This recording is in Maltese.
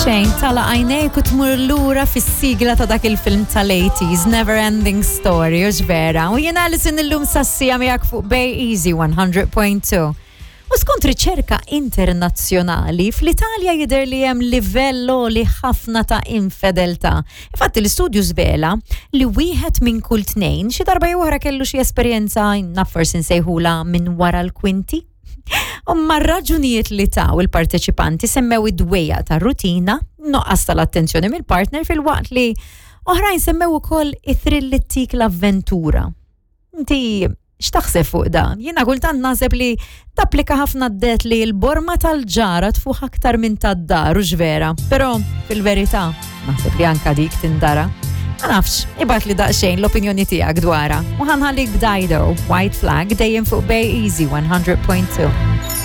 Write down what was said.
Xejn, tala għajnejk u tmur lura fis-sigla ta' dak il-film tal-80s, Never Ending Story, u vera. U jena Alison illum sassija miegħek fuq Bay Easy 100.2. U skont riċerka internazzjonali, fl-Italja jidher li hemm livell li ħafna ta' infedeltà. Infatti l-istudju żvela li wieħed minn kull tnejn xi darba jew oħra kellu xi esperjenza naf forsi nsejħula minn wara l-kwinti. U mar-raġunijiet li taw il-parteċipanti semmew id-dwejja ta' rutina, noqqas tal-attenzjoni mill-partner filwaqt li oħrajn semmew ukoll it-thrill li ttik l-avventura. Inti x'taħseb fuq dan? Jiena kultant naħseb li tapplika ħafna d-det li l-borma tal-ġara tfuħ aktar minn tad-dar u vera, però fil-verità naħseb li anka dik tindara. Ma nafx, ibgħat li daqsxejn l-opinjoni tiegħek dwarha. U ħanħallik b'Dido, White Flag dejjem fuq Bay Easy 100.2.